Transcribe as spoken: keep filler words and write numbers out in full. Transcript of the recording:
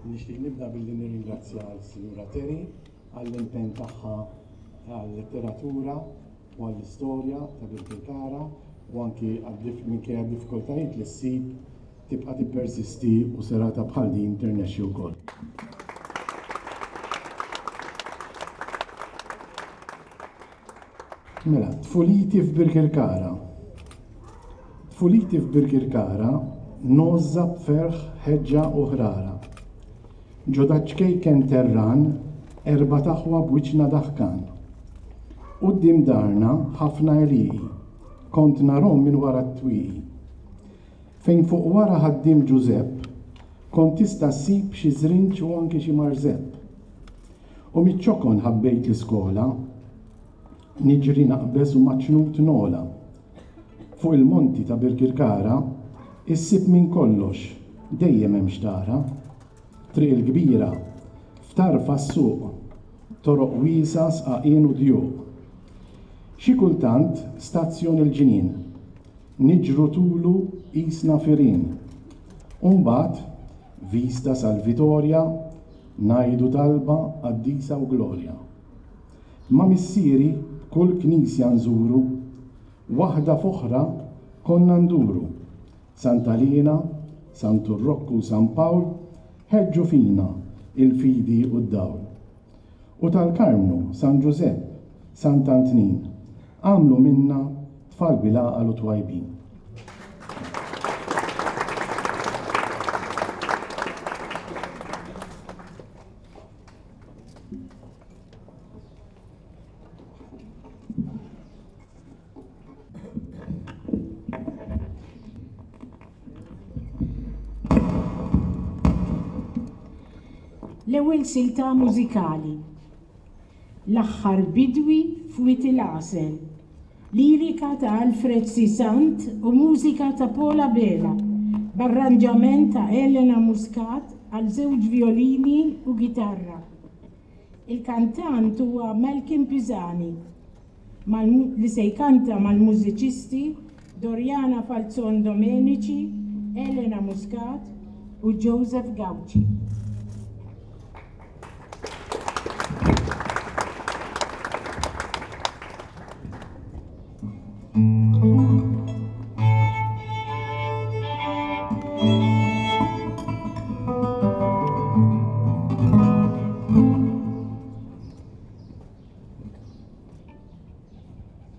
Nixtieq nibda billi nirringrazzja l-Sinjura Terry għall-impenn tagħha għal-letteratura u għall-istorja ta' Birkirkara u anki minkejja d-diffikultajiet li ssib tibqa' tippersisti u serata bħal din tirnexxi wkoll. Mela, tfuliti f'Birkirkara. Tfuliti f'Birkirkara ngħożżha b'ferħ, ħeġġa u ħrara. Ġo daċ-ċkejken terran, erbat aħwa b'wiċċna daħkan. Quddiem darna ħafna għelieqi, kont narhom minn wara t-twieqi. Fejn fuq wara ħaddiem Ġużepp, kont tista' ssib xi żrinġ u anki xi marżepp. U miċ-ċokon ħabbejt l-iskola, niġri naqbeż u maċ-ċnut nogħla. Fuq il-monti ta' Birkirkara, issib minn kollox, dejjem hemm x'tara. Triq il-Kbira, f'tarfha s-suq, toroq wiesgħa, sqaqien u djuq. Xi kultant stazzjon il-ġnien, niġru tulu qisna firien. U mbagħad, vista sal-Vitorja, ngħidu talba qaddisa u glorja. Ma' missieri kull knisja nżuru, waħda f'oħra konna nduru. Santa Liena, Santu Rokku u San Pawl ħeġġu fina il-fidi u d-dawl. U tal-Karmnu, San Ġużepp, Sant'Antnin, għamlu minna tfal bil-għaqal u twajbin. L-ewwel silta mużikali. L-aħħar bidwi f'Wied il-Għasel. Lirika ta' Alfred C. Sant u mużika ta' Paul Abela, b'arranġament ta' Elena Muscat għal żewġ violini u gitarra. Il-kantant huwa Malcolm Pisani, li se jkanta mal-mużiċisti Doriana Falzon Domenici, Elena Muscat u Joseph Gauci.